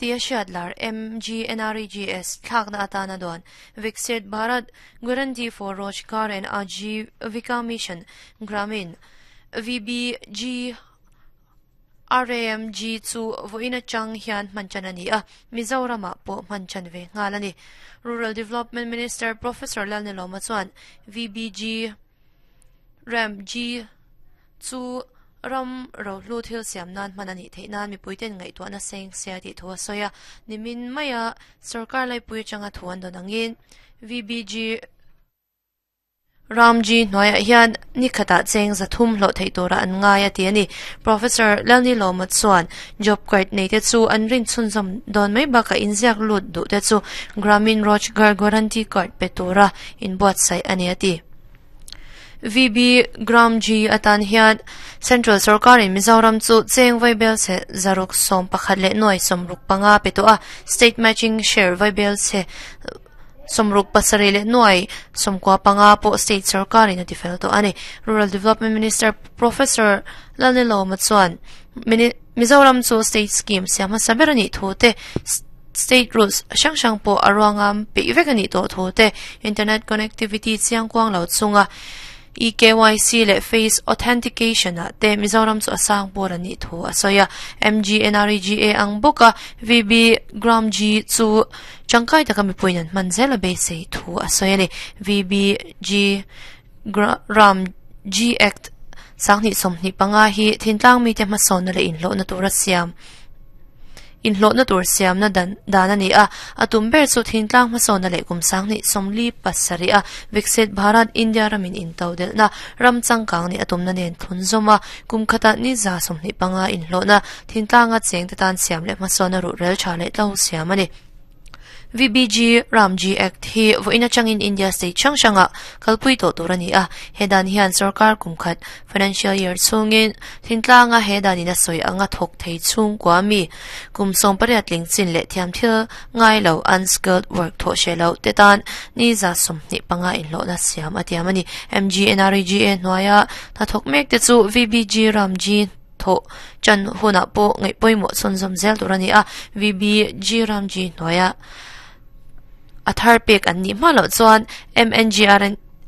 Tia hriat lar MGNREGS thlakna atana duan Viksit Bharat Guarantee for Rojgar and Ajeevika Mission Gramin, VBG RAMG, chu vawiin atang hian hman chan a ni a, Mizoramah pawh hman chan ve nghal a ni. Rural Development Minister Professor Lalnilawma chuan VBG RAMG chu ram rohlu thil siam nan hman a nih theih nan mipuiten ngaihtuahna seng sia tih thu a sawi a. Nimin maia sorkar laipui atanga thu an dawn angin VBG RAM G hnuaiah hian ni khatah cheng 300 hlawh theih tura an ngai a ti a ni. Professor Lalnilawma chuan job card nei te chu an rin chhunzawm dawn mai bakah inziak lut duh te chu Gramin Rojgar Guarantee Card pe tura inbuatsaih a ni a ti. VB Gram G atan hian Central Sorkarin Mizoram chu cheng vaibel chhe 611 leh 65 pe tawh a, State Matching Share vaibel chhe 67 leh 95 pawh State Sorkarin a tifel tawh a ni. Rural Development Minister Professor Lalnilawma chuan Mizoram chu State Scheme siam hmasa ber a nih thu te, State Rules hrang hrang pawh a ruangam peih vek a nih tawh thu te, Internet Connectivity chiang kuang lo chunga EKYC leh Face Authentication ah te Mizoram chu a sang pawl a nih thu a sawi a. MGNREGA ang bawka VB Gram G chu tangkai taka mipuiin an hman zel a beisei thu a sawi a ni. VBG Ram G Act 2025 hi thintlang mite hmasawnna leh inhlawhna tura siam inhlawhna tur siamna dan dan a ni a. A tum ber chu thintlang hmasawnna leh kum 2037 a Viksit Bharat India ramin into delhna ram changkang ni a tumna nen thlun zawm a, kum khata ni 125 inhlawhna thintlanga cheng te tan siam leh hmasawnna ruh rel tha leh tlo siam a ni. VBG Ram G Act hi vawiin atangin India state hrang hranga kalpui tawh tur a ni a. He dan hian sarkar kum khat financial year chhungin thintlanga he danin a sawi anga thawk thei chhungkua mi kum 18 tling chin leh thiam thil ngai lo unskilled work thawh hre lo te tan ni 25 inhlawhna siam a tiam a ni. MGNREGA hnuaia hnathawk mek te chu VBG Ram G thaw chan hunah pawh ngaih pawimawh chhunzawm zel tur a ni a. VBG Ram G hnuaia a thar pek an nih hma loh chuan MNGR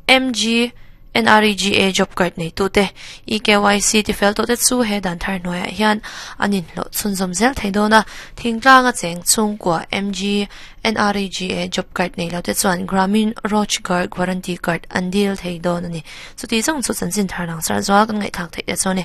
MGNREGA job card nei tu te EKYC tifel tawh te chu he dan thar hnuaiah hian an inhlawh chhunzawm zel thei dawn a. Thingtlanga cheng chhungkua MGNREGA job card nei lo te chuan Gramin Rojgar Guarantee Card an dil thei dawn a ni. Chuti zawng chu chanchin thar langsar zual kan ngaihthlak theih te chu a ni.